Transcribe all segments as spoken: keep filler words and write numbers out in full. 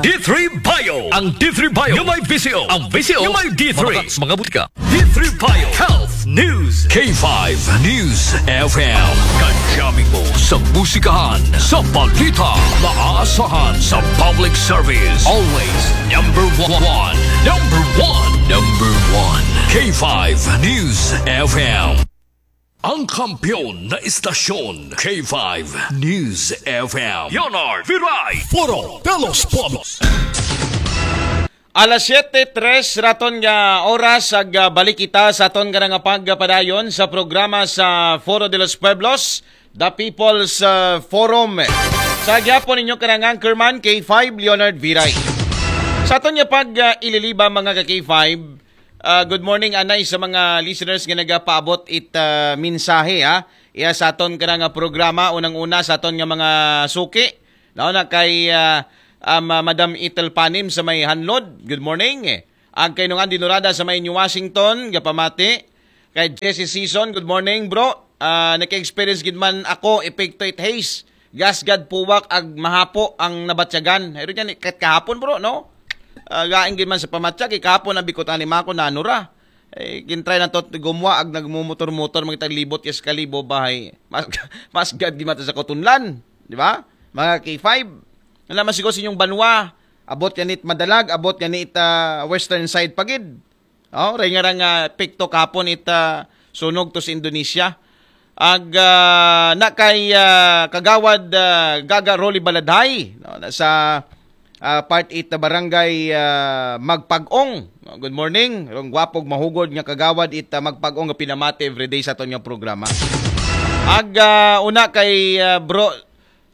D three Bio. Ang D three Bio yung may V C O. Ang V C O yung may D three. Mga, mga butika. D three Bio Health News. K five News F M. Kadyamin mo sa musikahan, sa balita, maaasahan sa public service. Always number one. Number one. Number one. K five News F M. Ang kampiyon na istasyon, K five News F M. Leonard Viray. Foro de los Pueblos. Alas siyete tres raton nga oras, ag ah, balik kita sa aton nga nga pagpadayon sa programa sa Foro de los Pueblos, The People's ah, Forum. Sa gyapon ninyo kanang anchorman, K five Leonard Viray. Sa aton nga pag ah, ililiba, mga ka K five, ah, good morning anay sa mga listeners nga nagapaabot it ah, mensahe, ha. Iya sa aton kanang nga programa, unang-una sa aton nga mga suki. Nauna kay ah, ah, Ma- Madam Ethel Panim sa may Hanlod. Good morning. Ang kay Nung Andy Norada sa may New Washington, gapamati. Kay Jesse Season, good morning, bro. Ah, naka-experience gid man ako, epekto it haze. Gas gad puwak ag mahapo ang nabatyagan. Pero yan, kahit kahapon, bro, no? Ah, gaing gid man sa pamatyag, eh, kahapon nabikot ani mako na ano ra. Eh, gintry na to gumwa ag nagmumotor-motor, magtaglibot yes kalibo bahay. Mas, mas gad gid man to sa kutunlan, di ba? Mga K five. Wala man siguro sa inyong banwa, abot yan it madalag, abot yan it ah, western side pagid. Oh, ray nga ra nga epekto kahapon it ah, sunog to sa Indonesia. Ag ah, na kay ah, Kagawad ah, Gaga Rolly Baladhay, no, na sa ah, part eight na barangay ah, Magpag-ong. No, good morning. Rong gwapog mahugod nga kagawad it ah, Magpag-ong nga pinamati everyday sa aton nga programa. Ag ah, una kay ah, bro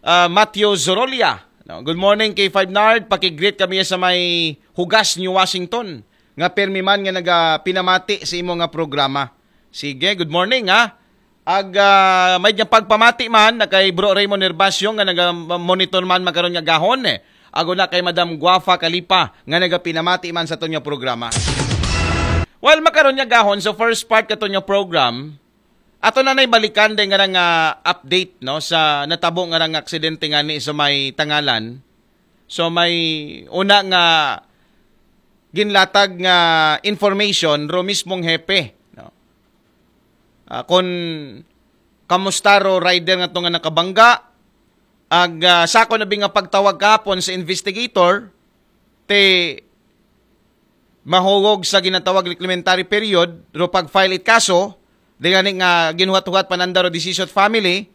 ah, Matthew Zorolia. No, good morning, K five Nard. Pakigreet kami sa may Hugas, New Washington. Nga permi man nga nagapinamati sa imo nga programa. Sige, good morning, ha. Ag ah, may nga pagpamati man na kay Bro Raymond Herbacio nga naga-monitor man makaron nga gahon, eh. Ag una kay Madam Guafa Kalipa nga nagapinamati man sa aton nga programa. Well, makaron nga gahon, so first part katon nga program, ato na nay balikan din nga nga update, no, sa natabo nga nga aksidente nga ni sa may Tangalan. So may una nga ginlatag nga information ro mismong hepe, no. Ah, kun kamusta ro rider nga to nga nakabangga, ag ah, sa ako na bi nga pagtawag kahapon sa investigator, te mahugog sa ginatawag reclaimatory period, ro pag-file it kaso, di gani nga ginuhat-huhat pananda ro decision family,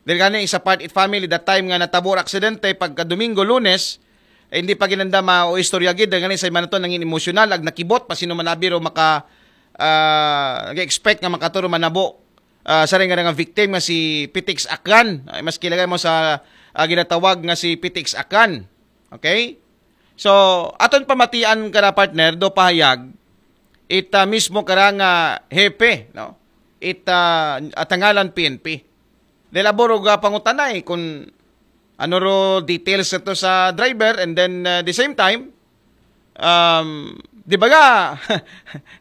di gani sa part it family, that time nga natabo ra aksidente, pagka Domingo, Lunes, eh, hindi pa ginanda ma o istorya gid, di gani sa manaton nangin emosyonal, ag nakibot, pa sino manabi ro maka, ah, nag-expect nga makaturo manabo, ah, sa rin nga nga victim nga si Pitix Akran. Ay, mas kilagay mo sa ah, ginatawag nga si Pitix Akran. Okay? So, aton pamatian kara partner, do pahayag, ita mismo kara nga hepe, no? Ita atangalan P N P. Dahil aboro ga pangutanay kung ano ro details ito sa driver, and then uh, the same time, um, di ba ga,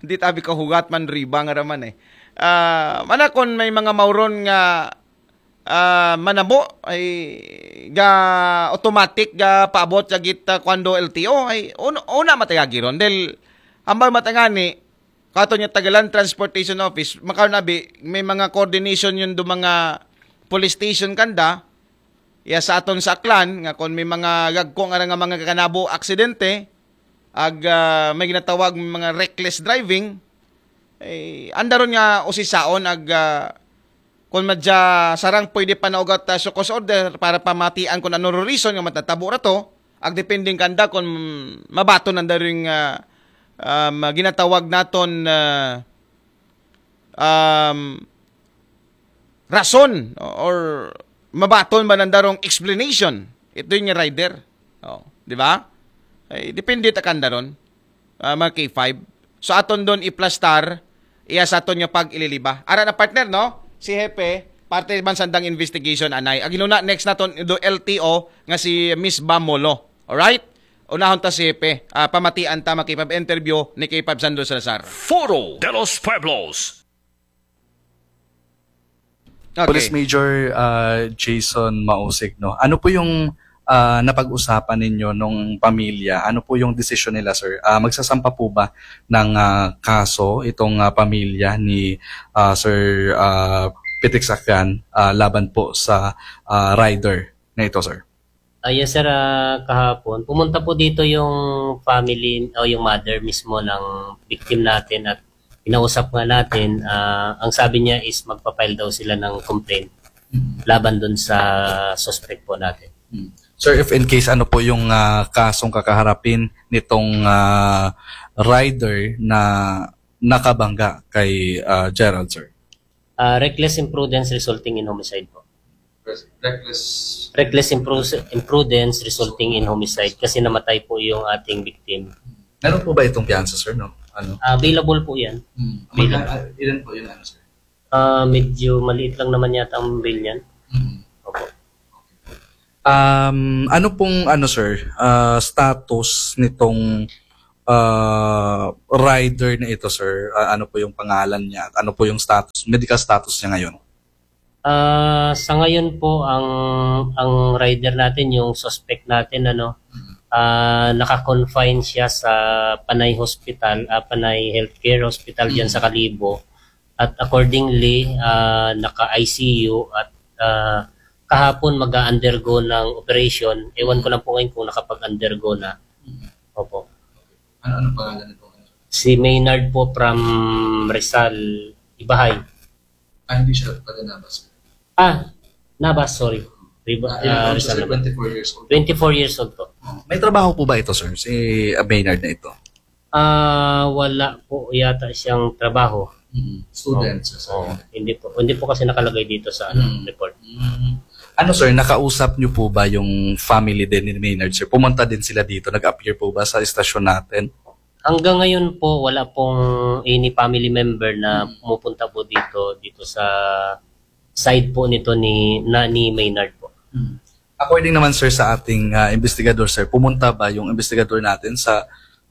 di tabi ka hugat man riba nga raman eh. Ah, mana kung may mga mauron nga ah, manabo ay ga automatic ga paabot sa git ah, kwando L T O ay una, una matayagi ron dahil ambal matangani kato niya Tagalan Transportation Office makaron abi may mga coordination yun do mga police station kanda iya sa aton sa Aklan nga kung may mga gagko nga nga mga kanabo aksidente ag ah, may ginatawag mga reckless driving eh, andaron nga usisaon ag ah, kung madya sarang pwede pa naugat uh, show cause order para pamatian kung ano ro reason nga matatabo ra to, ag depending kanda kung mabaton ang daring uh, um, ginatawag naton uh, um, rason or mabaton ba nandarong explanation ito yung rider. Oh, di ba? Ay, depende ta kanda ron. Ah, mga K five. So aton don iplastar iya sa aton nga pag-ililiba. Ara na partner, no? Si Hepe, parte man sandang investigation anay. Ag inuna next naton do L T O nga si Miss Bamolo. Alright? Unahon ta si Hepe, ah, pamatian ta mga K five interview ni K five Sandro Salazar. Foro de los Pueblos. Okay. Police Major uh, Jason Mausig, no? Ano po yung ah, napag-usapan ninyo nung pamilya? Ano po yung desisyon nila, sir? Ah, magsasampa po ba ng, ah, kaso itong, ah, pamilya ni, ah, Sir, ah, Pitik Sakyan, ah, laban po sa, ah, rider na ito, sir? Ah, yes, sir. Ah, kahapon, pumunta po dito yung family o yung mother mismo ng victim natin at kinausap nga natin, ah, ang sabi niya is magpa-file daw sila ng complaint laban dun sa suspect po natin. Sir, if in case, ano po yung, ah, kasong kakaharapin nitong, ah, rider na nakabangga kay, ah, Gerald, sir? Ah, reckless imprudence resulting in homicide po. Reckless. Reckless impru- imprudence resulting in homicide kasi namatay po yung ating victim. Meron po ba itong piyansa, sir? No? Ano? Ah, available po yan. Hmm. Magka- ah, ilan po yung ano, sir? Ah, medyo maliit lang naman yata ang bail niyan. Hmm. Opo. Um, ano pong, ano, sir, ah, status nitong, ah, rider na ito, sir? Ah, ano po yung pangalan niya? At ano po yung status, medical status niya ngayon? Ah, sa ngayon po, ang ang rider natin, yung suspect natin, ano, ah, naka-confine siya sa Panay Hospital, ah, Panay Healthcare Hospital diyan sa Kalibo. At accordingly, ah, naka-I C U at, ah, kahapon mag-undergo ng operation. Ewan ko lang po ngayon kung nakapag-undergo na. Opo. Ano, ano pangalan nito? Si Maynard po from Rizal, Ibahay. Ah, hindi siya pala nabas. Ah, Nabas, sorry. Riba, ah, Rizal naman. Twenty-four years old. Twenty-four years old po. May trabaho po ba ito, sir? Si, ah, Maynard na ito? Ah, wala po yata siyang trabaho. Mm. Student, sir. Oh, hindi po. Hindi po kasi nakalagay dito sa ano, report. Mm. Ano, sir, nakausap niyo po ba yung family din ni Maynard, sir? Pumunta din sila dito, nag-appear po ba sa istasyon natin? Hanggang ngayon po, wala pong any family member na pumupunta po dito, dito sa side po nito ni, na, ni Maynard po. According naman, sir, sa ating, ah, investigador, sir, pumunta ba yung investigador natin sa,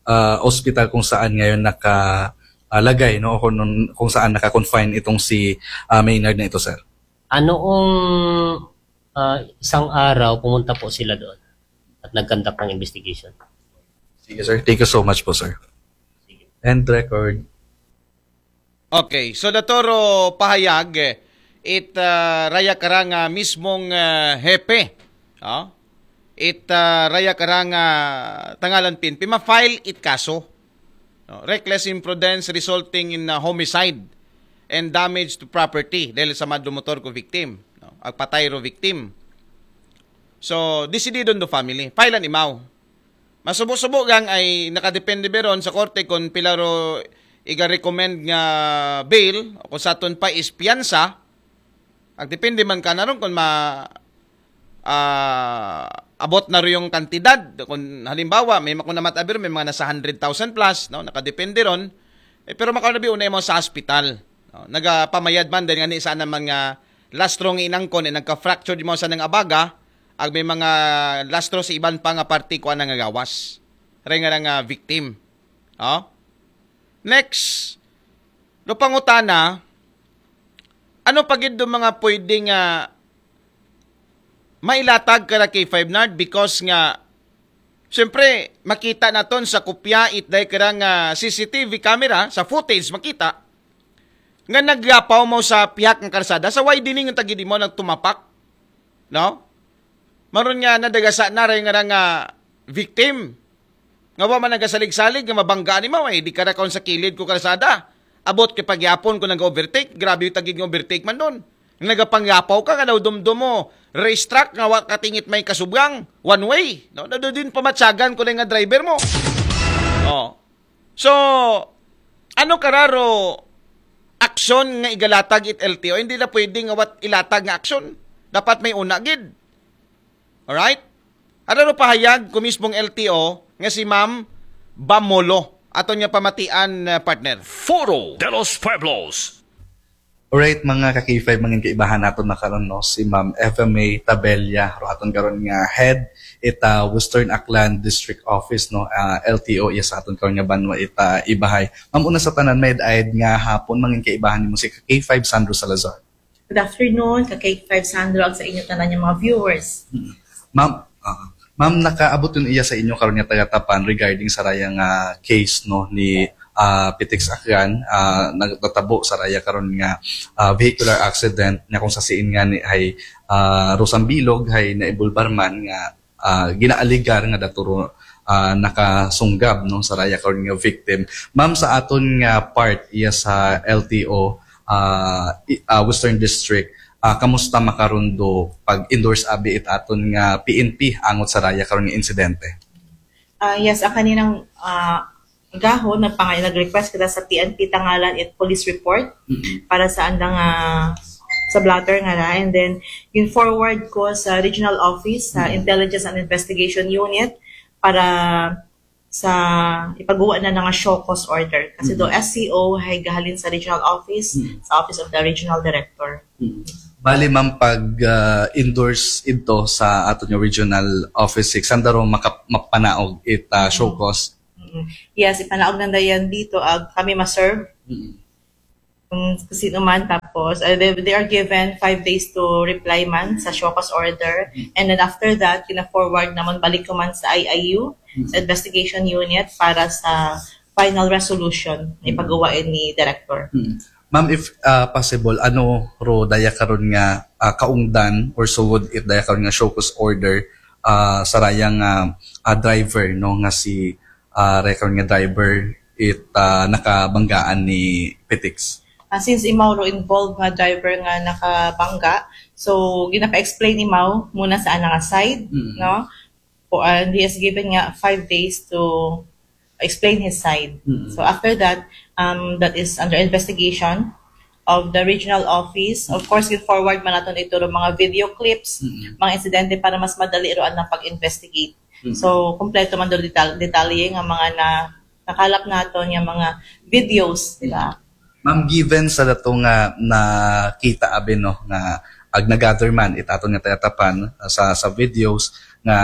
ah, ospital kung saan ngayon nakalagay, no? O kung, kung saan naka-confine itong si, ah, Maynard na ito, sir? Noong, ah, isang araw, pumunta po sila doon at nag-conduct ng investigation. Sige, sir. Thank you so much po, sir. End record. Okay, so datoro pahayag, eh, it, ah, raya karang, ah, mismong, ah, hepe. Oh? It, ah, raya karang, ah, tangalan P N P, ma-file it kaso. No? Reckless imprudence resulting in, ah, homicide and damage to property dahil sa mad motor ko victim. No? Agpatay ro victim. So, desididon do family. File an imaw. Masubo-subo gang ay nakadepende biron sa korte kung pila ro iga-recommend nga bail o kung saton pa is piyansa. Agdepende man ka na ron kung ma, ah, abot na ro yung kantidad. Kung halimbawa, may makuna matabir, may mga nasa hundred thousand plus, no? Nakadepende ron. Eh, pero makuna bi unay mo sa hospital. No? Nagapamayad man, dahil nga ni sana man nga lastro nga inangkon, eh, nagka-fracture di mo sa nang abaga, ag may mga lastro sa iban pa nga parte ko nga gawas. Ray nga nga victim. Oh? Next, no pangutana, ano pa gid do mga pwede nga mailatag kara K five Nard because nga, siyempre, makita naton sa kopya it day kara nga C C T V camera, sa footage, makita nga nagyapaw mo sa pihak ng karsada, sa widening ng tagidi mo nagtumapak. No? Maron nga nadagasa na ray nga nga victim. Nga wa man nagasalig-salig nga mabanggaan ni maway, di karakon sa kilid ko karsada. Abot kay pagyapon ko nag-overtake, grabe yung tagid nga overtake man doon. Nagapangyapaw ka nga daw dumdum mo, racetrack nga wa katingit may kasubgang, one way. No? Nado din pamatsagan ko na nga driver mo. Oh. So, ano kararo aksyon nga igalatag it L T O? Hindi na pwede nga wat ilatag nga aksyon. Dapat may una gid. Alright? Ano ro pahayag ko mismong L T O nga si Ma'am Bamolo? Aton nga pamatian, uh, partner. Foro de los Pueblos. Alright, mga ka-K five, mangin kaibahan naton na karon, no, si Ma'am Eva May Tabella, ro aton karon nga head ita Western Aklan District Office, no, ah, L T O, yes, aton karon nga banwa ita Ibahay. Ma'am, una sa tanan, may ayad nga hapon, mangin kaibahan nimo si ka-K five Sandro Salazar. Good afternoon, ka-K five Sandro, ag sa inyo tanan nga mga viewers. Ma'am, Ah, ma'am, nakaabot yun iya sa inyo karon nga taga-Tapan regarding sa raya nga case, no, ni ah, Pitix Akran, ah, nagtatabo sa raya karon nga ah, vehicular accident, nga kung sa siin nga ni hay ah, Rosang Bilog hay naibulbar man nga ah, ginaaligar nga daturo ah, nakasunggab, no, sa raya karon nga victim. Ma'am, sa aton nga part iya sa L T O ah, i- ah, Western District, ah, kamusta makaron do pag-endorse abi it aton nga P N P angot sa raya karon nga insidente? Ah, yes, ang kaninang ah, gahon, nagpangay, nag-request kita sa P N P tangalan it police report para sa andang ah, sa blotter nga ra. And then, yung forward ko sa regional office, sa Intelligence and Investigation Unit, para sa ipagawa na nga show cause order. Kasi do S C O hay gahalin sa regional office, sa office of the regional director. Bali, ma'am, pag ah, endorse ito sa aton nga regional office six, sanda ro maka- mapanaog it ah, show cause? Mm. Yes, ipanaog nanda yan dito, ag kami ma-serve kung sino man. Tapos, uh, they, they are given five days to reply man sa show cause order. And then after that, kina-forward naman balik ko man sa I I U, sa investigation unit, para sa final resolution na ipagawa ni director. Ma'am, if ah, possible, ano ro daya karon nga ah, kaungdan or sugod it daya karon nga show cause order ah, sa raya nga ah, driver, no, nga si ah, raya karon nga driver it ah, nakabanggaan ni Pitix? Ah, since imaw ro involved nga driver nga nakabangga, so ginapa-explain imaw muna sa ana nga side, no? For, and he has given nga five days to explain his side. So after that, um, that is under investigation of the regional office. Of course, gi-forward man naton ito ro mga video clips, mga insidente, para mas madali ro ang pag-investigate. So kompleto man do detal- detalye nga mga na nakalap naton nga mga videos, di ba? Ma'am, given sa dato nga nakita abi, no, nga ag nagather man it aton nga taga-Tapan ah, sa sa videos nga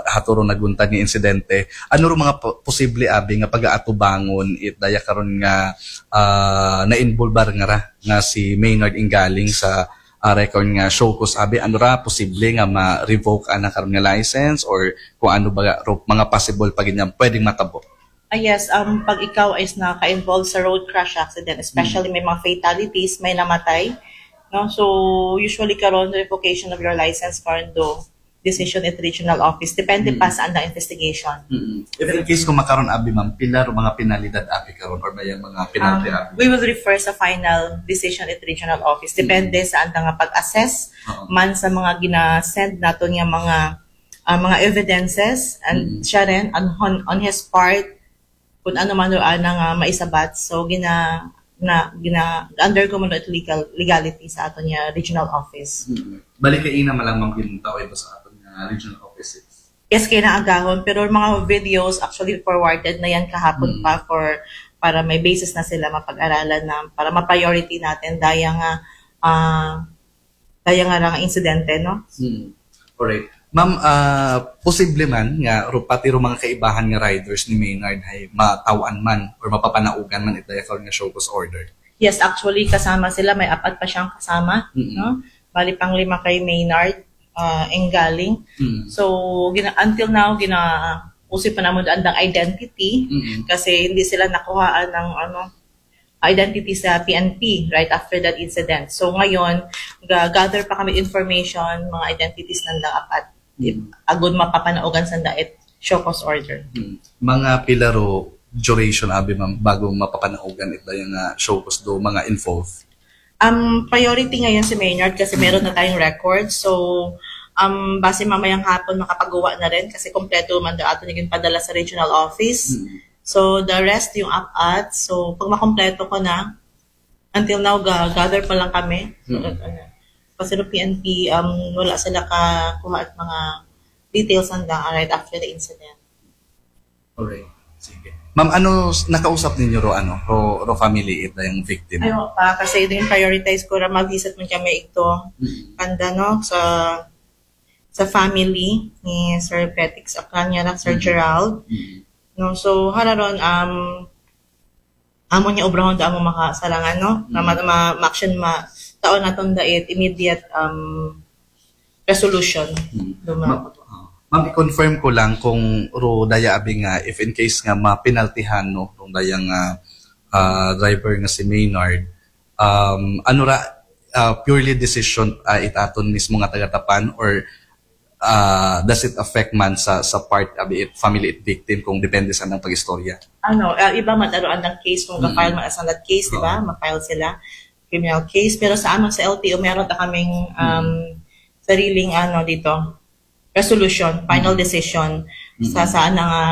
haturo naguntad nga insidente, ano ro mga po- posible abi nga pagaatubangon it daya karon nga ah, nainvolbar nga ra nga si Maynard Inggaling sa ah, record nga show cause abi? Ano ra posible nga ma-revoke ana karon nga license, or kung ano ba ro mga possible pa gid nga pwedeng matabo? Ah, yes, um, pag ikaw is naka-involve sa road crash accident, especially may mga fatalities, may namatay, no? So, usually karon, revocation of your license karon do decision at regional office. Depende pa sa andang investigation. If in case kung makaron abi, ma'am, pila ro mga penalidad abi karon or may mga penalty Um, abi? We will refer sa final decision at regional office. Depende sa andang nga pag-assess man sa mga gina-send naton nga mga ah, mga evidences, and siya rin on, on, on his part, kung ano man ro ana nga maisabat. So gina na gina undergo man ro it legal legality sa aton nga regional office. Balik kaina man lang, ma'am, gintaw iba sa aton nga regional office six. Yes, kay naagahon, pero mga videos actually forwarded na yan kahapon pa for para may basis na sila mapag-aralan na para ma-priority natin daya nga ah, daya nga ra nga insidente, no? Hmm. Alright. Ma'am, ah, posible man nga ro, pati ro mga kaibahan nga riders ni Maynard hay mataw-an man or mapapanaugan man it daya karon nga show cause order? Yes, actually kasama sila, may apat pa siyang kasama, Mm-mm. no? Bali pang lima kay Maynard, uh, Enggaling. Mm. So gina until now gina usi pa namon andang identity Mm-mm. kasi hindi sila nakuhaan ng ano identity sa P N P right after that incident. So ngayon, ga- gather pa kami information, mga identities nandang apat. Mm. Agud mapapanaugan sanda it show cause order. Hmm. Mga pila ro duration abi, ma'am, bago mapapanaugan it daya nga show cause do mga involved? Um, priority ngayon si Maynard kasi meron na tayong record. So, um, base mamayang hapon makapagawa na rin kasi kompleto man daw ato naging padala sa regional office. Hmm. So, the rest yung apat. So, pag makompleto ko na, until now, ga- gather pa lang kami. So, Hmm. ano, kasi no P N P, um, wala sila kakuha at mga details handa right after the incident. Alright. Sige. Ma'am, ano s- nakausap ninyo ro, ano, ro, ro family it dayang victim? Ayaw pa, kasi din prioritize ko ra mag-visit man kami ito. Mm. Kanda, no, sa sa family ni Sir Petix Akran nga ra, Sir Mm. Gerald. Mm. No, so hararon um amo niya obrahon da amo makasarangan, no? Na ma, ma, ma-action ma taon naton dait immediate um resolution. Mm. Do Ma- ma- ah. Ma'am, i-confirm ko lang kung ro daya abi nga, if in case nga mapinaltihan, no, rong daya nga, ah, driver nga si Maynard, um, ano ra, ah, purely decision, ah, it aton mismo nga taga-Tapan, or, ah, does it affect man sa, sa part abi it family it victim kung depende sa nang pag-istorya? Ano, ah, iba man aro andang case kung ga-file man as that case, di ba? Ma-file sila criminal case. Pero sa amin sa L T O, meron ta kaming um, sariling ano dito, resolution, final decision sa sa ano nga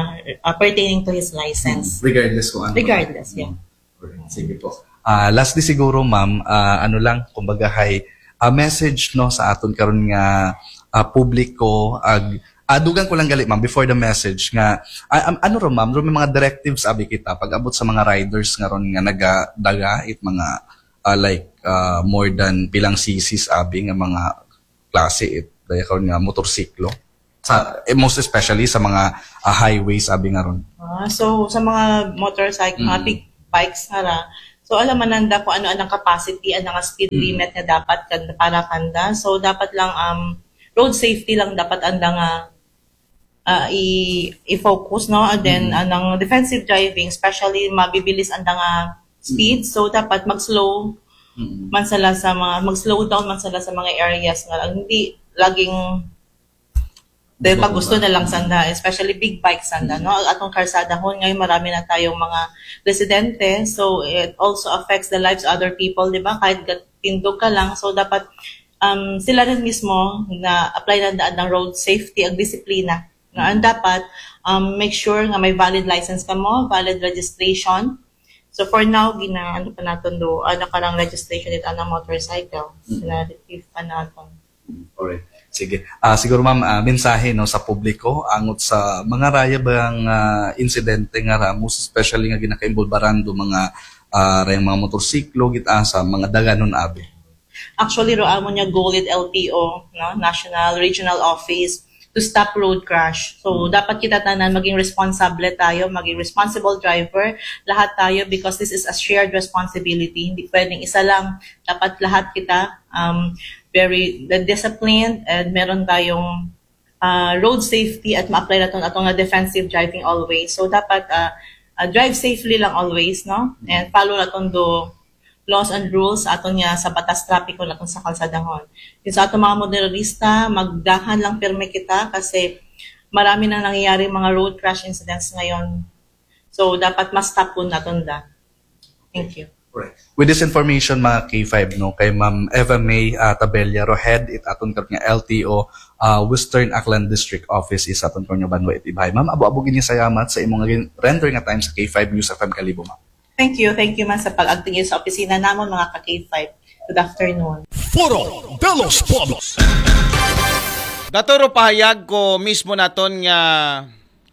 uh, pertaining to his license. Regardless kung ano. Regardless, yeah. Alright, sige po. Ah, lastly siguro, ma'am, ah, ano lang, kumbaga hay, ah, message, no, sa aton karon nga ah, publiko, ag ah, dugang ko lang gali, ma'am, before the message nga, ah, am- ano ro, ma'am, ro may mga directives abi kita pag abot sa mga riders nga ron nga nagadaga it mga ah, like ah, more than pilang C Cs abi nga mga klase it daya karon nga motorsiklo sa eh, most especially sa mga ah, highways abi nga ron. Ah, so sa mga motorcycle, mga big bikes nga ra, so alam man nanda kung ano ang capacity, ano nga speed limit nga dapat kan para kanda. So dapat lang um road safety lang dapat anda nga ah, i i-focus, no? And then anang defensive driving, especially mabibilis anda nga speed, so dapat mag-slow man sila sa mga mag-slow down man sila sa mga areas nga hindi laging dahil pag gusto na lang sanda, especially big bikes sanda, no? Atong karsada hon ngayon marami na tayong mga residente, so it also affects the lives of other people, di ba? Kahit gatindog ka lang, so dapat um, sila rin mismo na apply na daan ng road safety ang disiplina. Nga ang dapat um, make sure nga may valid license ka mo, valid registration. So for now, gina ano pa naton do, ano ka lang registration it anang motorcycle. Gina-retrieve pa naton. Alright. Sige. Ah, siguro ma'am, ah, mensahe no sa publiko angot sa mga raya bang ah, insidente nga ra, most especially nga ginakainvolbaran do mga ah, rayang mga motorsiklo git ah, sa mga daganon abi. Actually, ro amo niya goal it L T O, no? National Regional Office to stop road crash. So, dapat kita tanan maging responsable tayo, maging responsible driver, lahat tayo because this is a shared responsibility. Hindi pwedeng isa lang, dapat lahat kita um, very disciplined and meron tayong uh, road safety at ma-apply naton atong nga defensive driving always. So dapat uh, uh, drive safely lang always, no? And follow naton do laws and rules aton nga sa batas trapiko naton sa kalsadahon. Yung sa atong mga motorista, magdahan lang pirmi kita kasi marami nang nangyayari mga road crash incidents ngayon. So dapat mas tapon naton da. Thank you. With this information, mga K five, no, kay Ma'am Eva May uh, Tabella Rohed, it aton karon nga L T O uh, Western Aklan District Office is aton karon nga banwa it Ibhay. Ma'am, abo-abo gini salamat sa imong gin- render nga time sa K five News F M Kalibo, ma'am. Thank you. Thank you man sa pag-agtingin sa opisina namon, mga ka-K five. Good afternoon. Foro de los Pueblos. Daturo pahayag ko mismo naton nga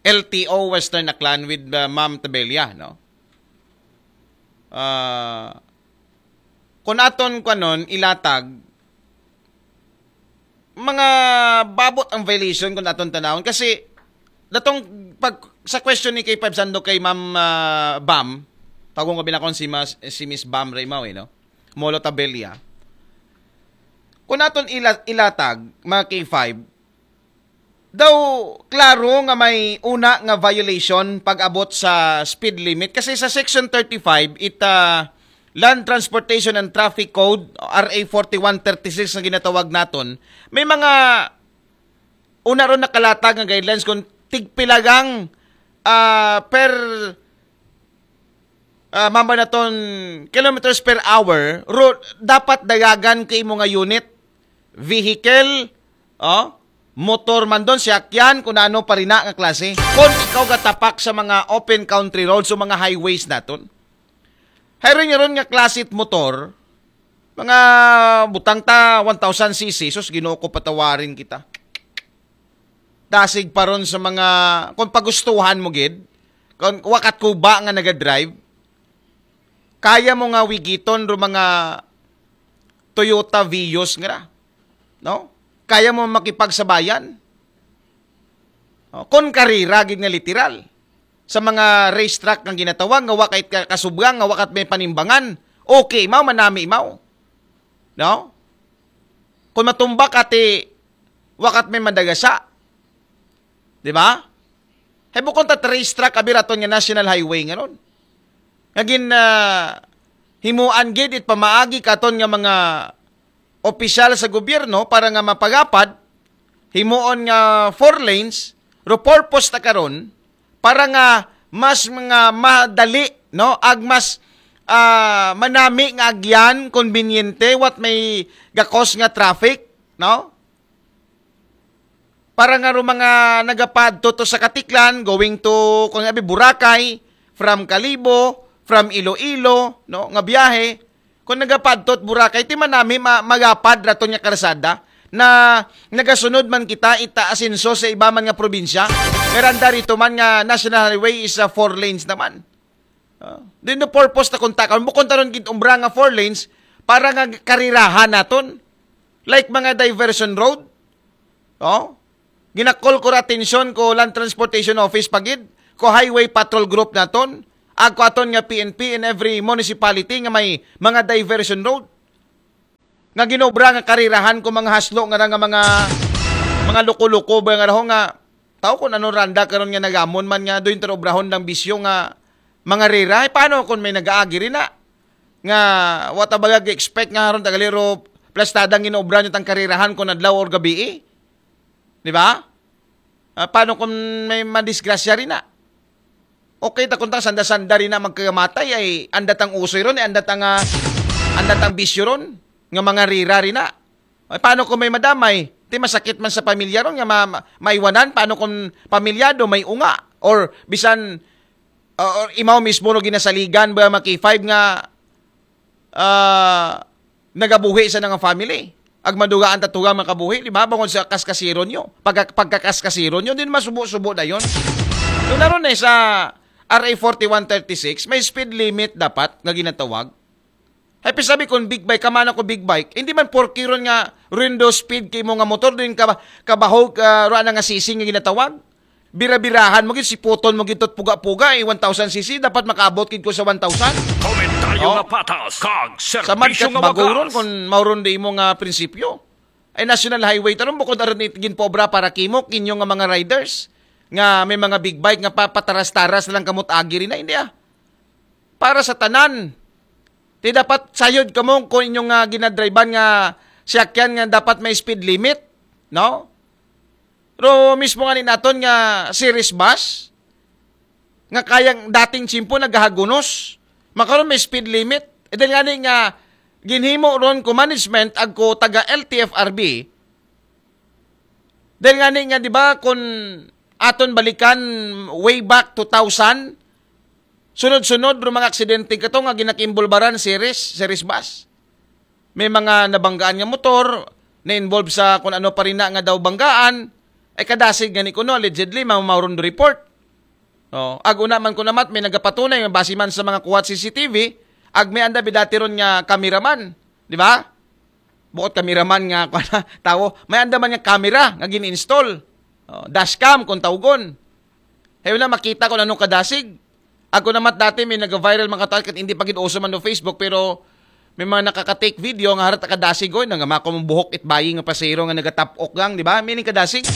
L T O Western Aklan with uh, Ma'am Tabella, no? Ah, kung aton kanon ilatag mga babot ang violation kung aton tanawon kasi datong pag sa question ni K five Sando kay Ma'am ah, Bam, tawgon ko binakon si Mas, si Miss Bam Raymaw eh, no? Molo Tabella. Kung aton ila, ilatag mga K five, daw klaro nga may una nga violation pag-abot sa speed limit kasi sa section thirty-five it ah, Land Transportation and Traffic Code, R A forty-one thirty-six nga ginatawag naton, may mga una ron nakalatag nga guidelines kung tigpilagang ah, per ah, mamba naton kilometers per hour, ro, dapat dayagan ko imo nga unit, vehicle, oh, motor man don, siyakyan, kung ano pa rin na nga klase. Kung ikaw gatapak sa mga open country roads o mga highways naton, hayron nga ron nga klase it motor, mga butang ta one thousand C C, sus, Ginoo ko patawarin kita. Dasig pa ron sa mga, kung pagustuhan mo gid, kung wakat ko ba nga nagadrive, kaya mo nga wigiton ro mga Toyota Vios nga ra, no? Kaya mo makipagsabayan. No? Kon karera gid nga literal sa mga racetrack nga ginatawag nga wa kay ka- kasubgang nga wakat may panimbangan. Okay, mao manami mao. No? Kung matumba ka ti wakat may madagasa. Di ba? Hay bukon ta trace track abi raton nga national highway nga ron. Nga gin, ah, himuan gid it pamaagi katon nga mga opisyal sa gobyerno para nga mapagapad, himuon nga four lanes, ro purpose ta karon para nga mas mga madali, no? Ag mas, ah, manami nga agyan, konbinyente, what may gakos nga traffic, no? Para nga ro mga nagapadto to sa Katiklan, going to, kung abi, Boracay, from Kalibo, from Iloilo, no, nga biyahe, kung nagapadto to Boracay, ti manami ma- magapad raton nga karsada na nagasunod man kita ita asenso sa iba man nga probinsya. Pero anda rito man nga National Highway is, ah, four lanes naman. Ah, din the purpose na kung takon, bukon taron gid umbra nga four lanes para nga karirahan naton. Like mga diversion road. Oh? Ginakol ko ra atensyon ko Land Transportation Office pagid, ko Highway Patrol Group naton, ag ko aton nga P N P in every municipality nga may mga diversion road. Nga ginobra nga karirahan ko mga haslo nga ra nga mga, mga loko-loko ba nga raho nga tao kung ano randa karon nga nagamon man nga doon obrahon lang bisyo nga mga rira. Eh, paano kung may nag-aagi rin na? Nga, what ba expect nga haron tagalero plastada ang ginobra nyo tang karirahan kung adlaw or gabi eh? Di ba? Ah, paano kung may madisgrasya rin na? Okay, ta kung tang sanda-sanda rin na magkamatay ay anda tang usoy ron, ay anda tang, ah, anda tang bisyo ron, nga mga rira rin na. Ay, paano kung may madamay? Ti masakit man sa pamilya ron nga ma- ma- maiwanan, paano kung pamilyado, may unga? Or bisan, uh, or imaw mismo no ginasaligan ba maki five nga, ah, nagabuhi sa nga family? Ag madugaan tatugang makabuhi, di ba? Bangod sa kaskasiron nyo. Pagka, pagkakaskasiron nyo, din masubo-subo na yon. Doon na ron eh, sa R A forty-one thirty-six, may speed limit dapat nga ginatawag. Hay, pisabi kung big bike, kamana ko big bike. Hindi man porky ron nga rindo speed kay mo nga motor, din ka, kabahog, uh, ruan nga sising nga ginatawag. Bira-birahan mo gid, siputon mo gid tot puga-puga, eh, one thousand C C, dapat makaabot gid ko sa one thousand. Komentaryo Oh. nga patas, kag Sa serbisyo madkat nga bago ron, wagas. Kung mauron di mo nga prinsipyo. Ay national highway, taron bukod aron it ginpobra para kimo, kinyo nga mga riders, nga may mga big bike, nga pa- pataras-taras na lang kamot agi rin na, hindi ah. Para sa tanan. Ti dapat sayod kamo kung inyong nga ginadrivean nga siyakyan nga dapat may speed limit, no? Pero mismo nga ni naton nga series bus, nga kayang dating tsimpo nagahagunos, makaron may speed limit. E dahil nga ni nga ginhimo ron ko management agko taga L T F R B, dahil nga ni nga, di ba, kung aton balikan way back two thousand, sunod-sunod ro mga aksidente kato nga ginakimbulbaran series, series bus. May mga nabanggaan nga motor, na-involve sa kung ano pa rin na nga daw banggaan, ay kadasig nga ni kuno, allegedly, mamauron do report. Oh, ag una man ko namat, may nagapatunay, nga base man sa mga kuwat C C T V, ag may anda bidati ron nga cameraman, di ba? Bukod cameraman nga, kuwan na, tawo, may anda man nga camera nga gin-install. Oh, dashcam, kung tawgon. Hay wala, makita ko na nung kadasig. Ako namat dati, may nag-viral mga tao, kat hindi pa gid uso man no Facebook, pero may mga nakaka-take video nga harat kadasig, oy, nang mako mong buhok it bayi nga pasero nga nagatapok gang, di ba? Meaning kadasig.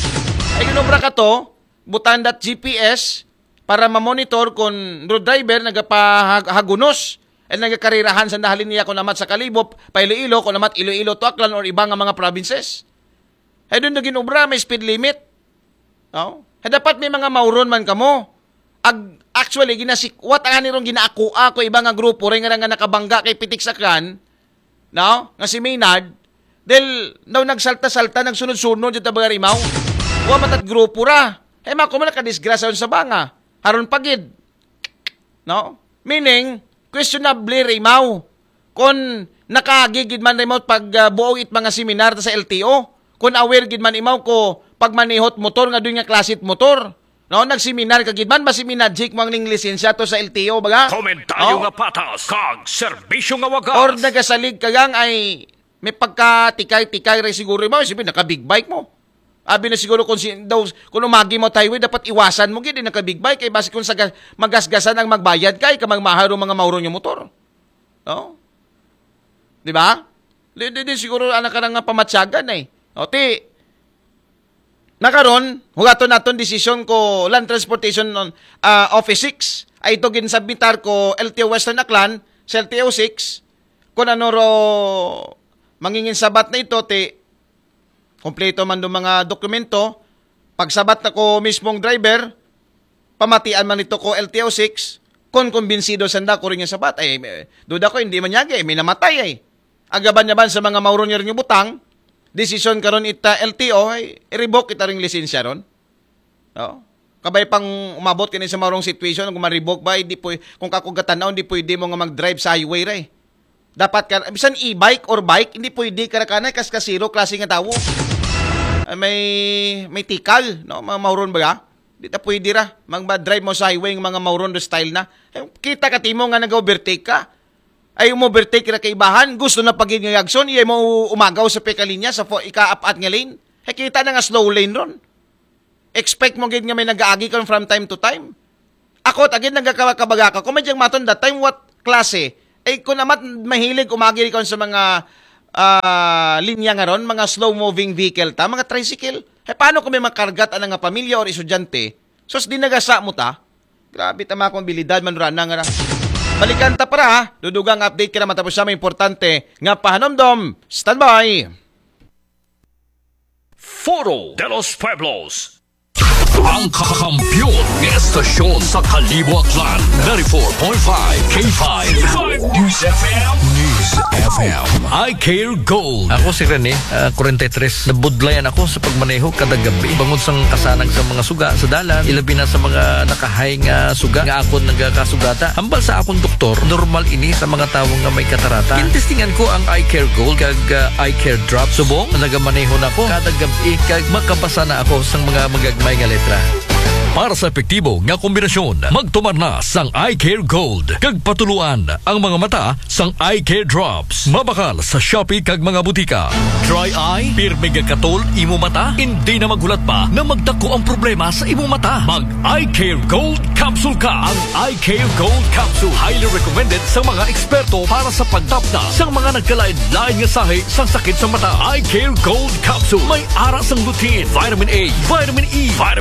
Ay, ginobra ka to, butandat G P S para ma-monitor kung road driver nagapahagunos at nagakarirahan sa nahalin niya kung namat sa Kalibop, pa Iloilo, kung namat Iloilo to Aklan or iba nga mga provinces. Ay doon na ginobra, may speed limit. No? Ay dapat may mga mauron man kamo. Ag, actually, ginasikwat ang anirong ginaakua ko iba nga grupo rin nga, nga nakabangga kay Pitik Sakyan, no? Nga si Maynard, dahil daw nagsalta-salta, nagsunod-sunod yung tabagarimaw. Wa matat grupo ra. Hay mako man nakadisgrasya sa banga. Haron pagid. No? Meaning, questionable rimaw. Kung nakaagi gid man rimaw pag ah, buo it mga seminar sa L T O. Kung aware gid man imaw ko pagmanihot motor nga doon nga klasit motor. No, nagseminar ka gid man, basi minajik mo ang ning lisensya to sa L T O, baga? Komentaryo Oh? nga patas, kag serbisyo nga wagas. Or nagasalig ka gang ay may pagkatikay-tikay ray siguro mo, sabi naka-big bike mo. Abi na siguro kung si, daw, kung umagi mo highway, dapat iwasan mo gid naka-big bike kay basi kung sa ga- magasgasan ang magbayad kay ka magmahal ro mga mauro nga motor. No? Di ba? Di, di, di siguro anak ka nga pamatyagan eh. O ti, Na karon, hugaton naton desisyon ko Land Transportation, ah, Office six. Ay ito ginsubmitar ko L T O Western Aklan sa L T O six. Kung ano ro mangingin sabat na ito, ti kompleto man do mga dokumento. Pagsabat na ko mismong driver, pamatian man ito ko L T O six, kung kumbinsido sanda ko rin yung sabat. Ay, eh, duda ko, hindi man yagi, may namatay ay. Agaban niya ban sa mga mauron niya rin yung butang, desisyon karon ita L T O, ay, i-revoke kita ring lisensya ron. No? Kabay pang umabot kini sa maurong situation, kung ma-revoke ba, hindi po, kung kakugatan na, hindi pwede mo nga mag-drive sa highway, ray. Dapat ka, bisan e-bike or bike, hindi pwede ka rakanay, kas kasiro, klase nga tawo. Ah, may, may tikal, no? Mga mauron ba ya? Di ta pwede ra, mag-drive mo sa highway ng mga mauron do style na. Eh, kita ka timo nga nag-overtake ka. Ay, mo-overtake ra kaibahan, gusto na pagid nga yagson, iya mo umagaw sa pekalinya sa fo-, ika-apat nga lane. Ay, kita na nga slow lane ron. Expect mo gid nga may nag-aagi kon from time to time. Ako, tagid nagkakabagaka. Kung may diyang maton that time, what klase? Eh, kung amat mahilig umagi kon sa mga ah, linya nga ron, mga slow-moving vehicle ta, mga tricycle. Eh, paano kung may makargat ang nga pamilya or estudyante? Sus, di nagasa mo ta? Grabe tama kong abilidad, manurana nga ra. Balikan ta para ha. Dudugang update ka na matapos sa mga importante nga pahanomdom. Standby! Foro de los Pueblos. Ang kakampiyon ng estasyon sa Kalibo Aklan, ninety-four point five K five News F M. News F M. I Care Gold. Ako si Rene, ah, forty-three. Nabudlayan ako sa pagmaneho kada gabi. Bangod sa kasanag sa mga suga sa dalan, ilabi na sa mga nakahay nga suga nga akon nagakasugata. Hambal sa akong doktor, normal ini sa mga tawo nga may katarata. Gintestingan ko ang Eye Care Gold kag, ah, Eye Care Drop. Subong, nagamaneho na ko kada gabi kag makabasa na ako sa mga magagmay nga letra. Para sa epektibo nga kombinasyon, magtumar na sang Eye Care Gold kag patuluan ang mga mata sang Eye Care Drops. Mabakal sa Shopee kag mga butika. Dry eye, pirmi nga katol imo mata, hindi na maghulat pa na magdako ang problema sa imo mata. Mag Eye Care Gold Capsule ka. Ang Eye Care Gold Capsule highly recommended sa mga eksperto para sa pagtapna sa mga nagkalain-lain nga sahi sa sakit sa mata. Eye Care Gold Capsule may ara sang lutein, vitamin A, vitamin E, vitamin